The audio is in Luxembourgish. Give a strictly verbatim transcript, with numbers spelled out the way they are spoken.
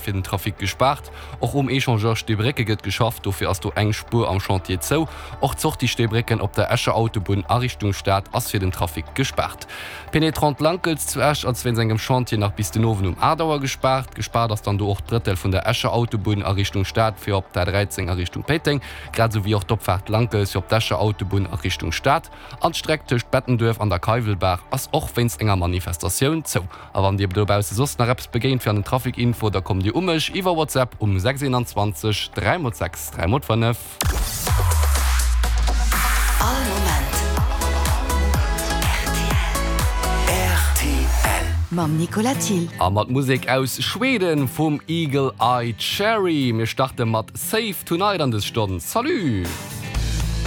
fir den Trafic gespaart. Och um Echangeur Steebrécke gëtt geschafft, dofir ass do eng Spuer am Chantier zou. Och d'Sortie Steebrécken op der Escher Autobunn a Richtung Stad ass fir den Trafic gespaart. D'Pénétrante Lankels zu Esch ass wéinst engem Chantier nach bis den Owend um aacht Auer gespaart. Gespaart ass dann do och d'Brëttel vun der Escher Autobunn a Richtung Stad fir op d'A dräizéng a Richtung Péiteng, grad esou wéi och d'Opfaart Lankels fir op d'Escher Autobunn a Richtung Stad. An d'Streck tëscht Bettenduerf an der Keiwelbaach ass och wéinst enger Manifestatioun zou. A wann dir dobausse soss nach eppes begéint fir an den Trafic Info, da kommt dir u mech iwwer WhatsApp um sechs eenanzwanzeg dräi mol sechs dräi mol fënnef. All Moment rtl. Mam Nicolas Thill. A mat Musek aus Schweden vum Eagle Eye Cherry. Mir starte mat Save Tonight an des Stonn. Salut!